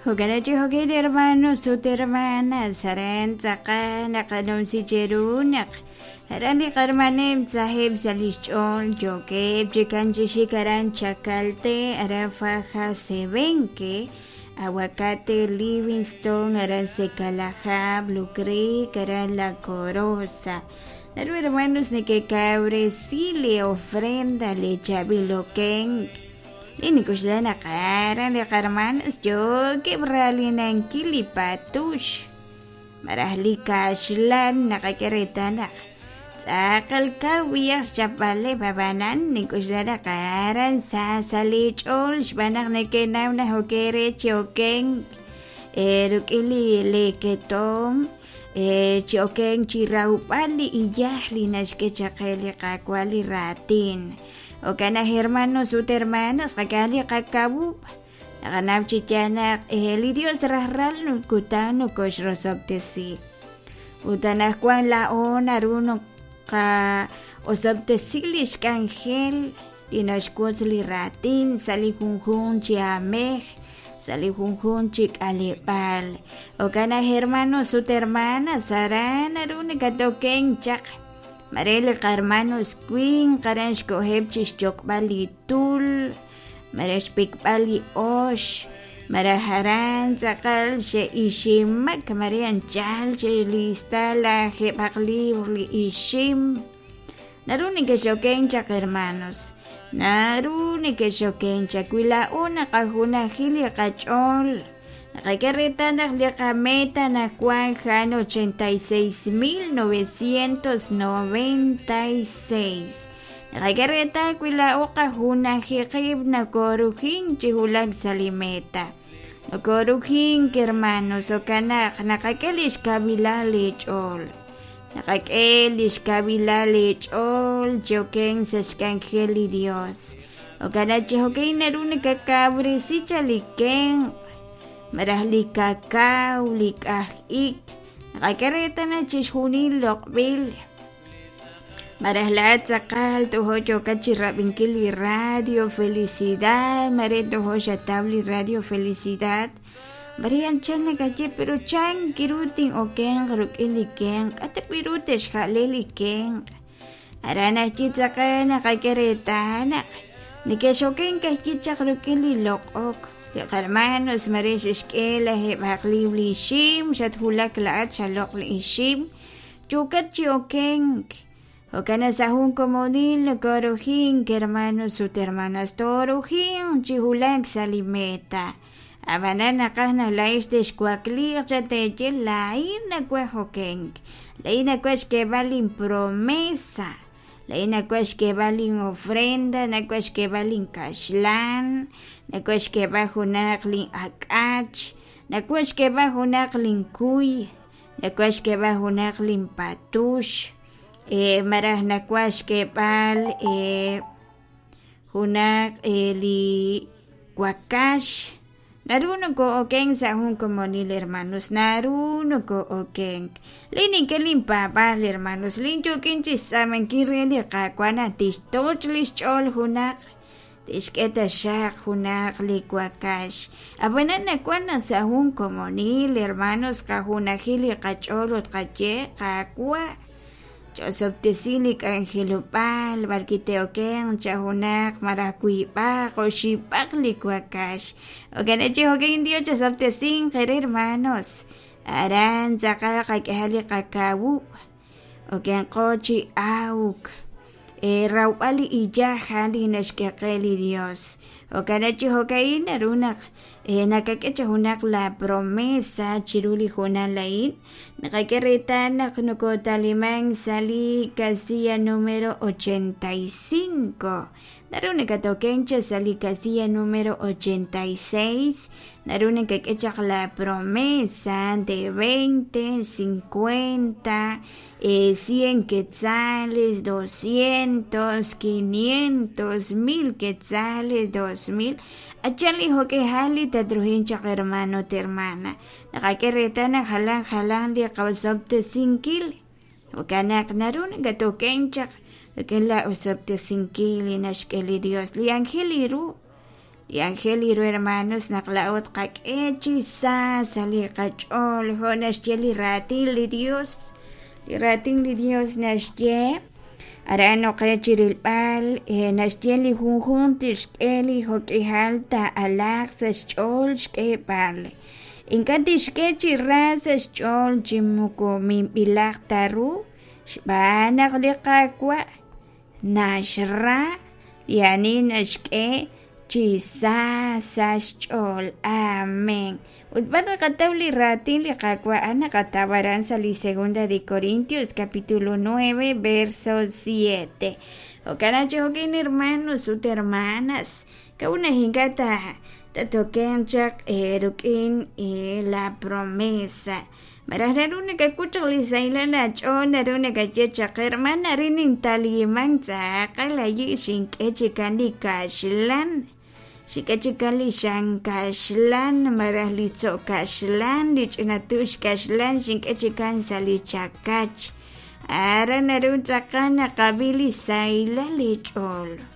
Jo'kan chi jo'kan hermanos ut hermanas aran tz'aqal naqanumsi cheru naq aran li qarmanem tzajeb' sa' lix ch'ool yookeb' chikan chi xik aran Chacalté aran Faja Sebenque Aguacate Livingston aran Secalajá Blue Creek aran La Corosa naru hermanos nekekawresi li ofrenda li chaab'il okenk li nik'oxla naq aran li qarmanos yookeb' raalinankil li patux malaj li kaxlan naqak'e reetal naq tz'aqal kaw b'iyaj xchapb'aleb' ab'anan nink'oxla naq aran sa sa' li ch'ool xb'aan naq neke'naw naq ok re chi okenk rik'in li leketom chi okenk chi rawb'al li iyaj li naxk'e chaq qe li Qaawa' li raatin. Jo'kan naq hermanos ut hermanas qak'e li qakawub' naqanaw chi yaal naq li Dios rajlal kutan nokoxrosob'tesi. Ut anaqwan laa'o naru naqa'osob'tesi lix k'anjel li naxwotz li raatin sa' li junjunq chi aamej, sa' li junjunq chi k'aleb'aal. Jo'kan naq hermanos ut hermanas aran naru nakatokenk chaq. Mare li qarmanos winq aran xkoheb' chi xyok'b'al li tul, mare xpikb'al li ox, malaj aran tz'aqal xe'iximak, mare anchal xe'lista lajeeb'aq libr li ixim. Naru nekex'okenk chaq hermanos, naru nekex'okenk chaq wi laa'o naqajunaji li qach'ool. Naqak'e reetal naq li qameta anaqwan a'an 86,996. Naqak'e reetal wi laa'o qajunaji qib' nokorujink chi wulak sa' li meta. Nokorujink hermanos, jo'kan naq naqak'e lix kawilal li ch'ool. Naqak'e lix kawilal li ch'ool chi okenk sa' xk'anjel li Dios. Jo'kan naq chi jo'kan naru nakakawresi chaq li kenq' malaj li kakaw, li k'aj ik. Naqak'e reetal naq chixjunil loq'b'il. Malaj laa'at tz'aqal tojo yookat chi rab'inkil li radio Felicidad, mare tojo xataw li radio Felicidad. Mare anchal nakaye pero chan kiru tin'okenq rik'in li kenq', k'a' ta b'i' ru te'xja'le li kenq'. Aran ajwi' tz'aqal naqak'e reetal naq neke'xokenk ajwi' chaq rik'in li loq'ok. Li qarmanos mare xe'xk'e lajeeb'aq liibr li ixim, xatwulak laa'at xaloq' li ixim, yookat chi okenk. Jo'kan naq sa' jun komonil nokoorujink hermanos ut hermanas, toorujinq chi wulak sa' li meta. Ab'anan naqaj naq laa'ex texwakliiq chaq teeye laa'in nawaj okenk, laa'in nawaj xk'eeb'al linpromesa, laa'in nawaj xk'eeb'al linofrenda, nawaj xk'eeb'al linkaxlan, nawaj xk'eeb'al junaq lin'ak'ach, nawaj xk'eeb'al junaq linkuy, nawaj xk'eeb'al junaq linpatux, malaj nawaj xk'eeb'al junaq li wakax. Naru noko'okenk sa' jun komonil hermanos, naru noko'okenk. Li nink'e linpaab'aal hermanos, lin yookin chixtz'aamankil re li Qaawa' naq tixtoch' lix ch'ool junaq, tixk'e taxaq junaq li wakax. Ab'anan nawan naq sa' jun komonil hermanos qajunaji li qach'ool ut qaye Qaawa', Ch'osob'tesi li k'anjelob'aal b'arwi' te'okenq cha junaq malaj wiib'aq oxib'aq li wakax. Jo'kan chi jo'kan Dios chosob'tesinq eere hermanos. Aran tz'aqal qak'ehaq li qakawub'. Okenqo chi awk. Rawb'al li iyaj a'an li naxk'e qe li Dios. Jo'kan chi jo'ka'in naru naq nakak'e chi junaq la promesa chiru li hoonal a'in. Naqak'e reetal naq nokotalimank sa' li casilla numero 85. Naru nakatokenk chaq sa' li casilla numero 86. Naru nakak'e chaq la promesa de 20, 50, 100 quetzales, 200, 500, 1000 quetzales, 2000. Achal li jo'k'ihal li tatruhin chaq hermano ut hermana. Naqak'e reetal naq jalan jalan li qosob'tesinkil. Jo'kan naq naru nakatokenk chaq rik'in la osob'tesinkil li naxk'e li Dios, li anjel li ru. Li aajel ru hermanos naq laa'o tqak'e chi sa sa' li qach'ool jo' naxye li raatin li Dios. Li raatin li Dios naxye aran oqe chi rilb'al naxye li junjunq tixk'e li jo'k'ihal taa'alaaq sa' xch'ool xk'eeb'al. Ink'a' tixk'e chi ra sa' xch'ool chi moko minb'ilaq ta ru xb'aan naq li Qaawa' naxra li ani naxk'e chi sa sa' xch'ool. Amén. Ut b'ar naqataw li raatin li Qaawa' a'an naqataw aran sa' li segunda de Corintios capítulo 9 verso 7. Jo'kan naq chi jo'kin hermanos ut hermanas, k'a'ut naq ink'a' ta tatokenq chaq eerik'in la promesa. Malaj naru nakak'ut chaq li sahilal aach'ool naru nakaye chaq hermana arin nintaliman tz'aqal ayi' xink'e chikan li kaxlan xink'e chikan li xan kaxlan malaj li tzo' kaxlan li ch'ina tux kaxlan xink'e chikan sa' li chakach aran naru tz'aqal naqab'i li sahilal li ch'ool.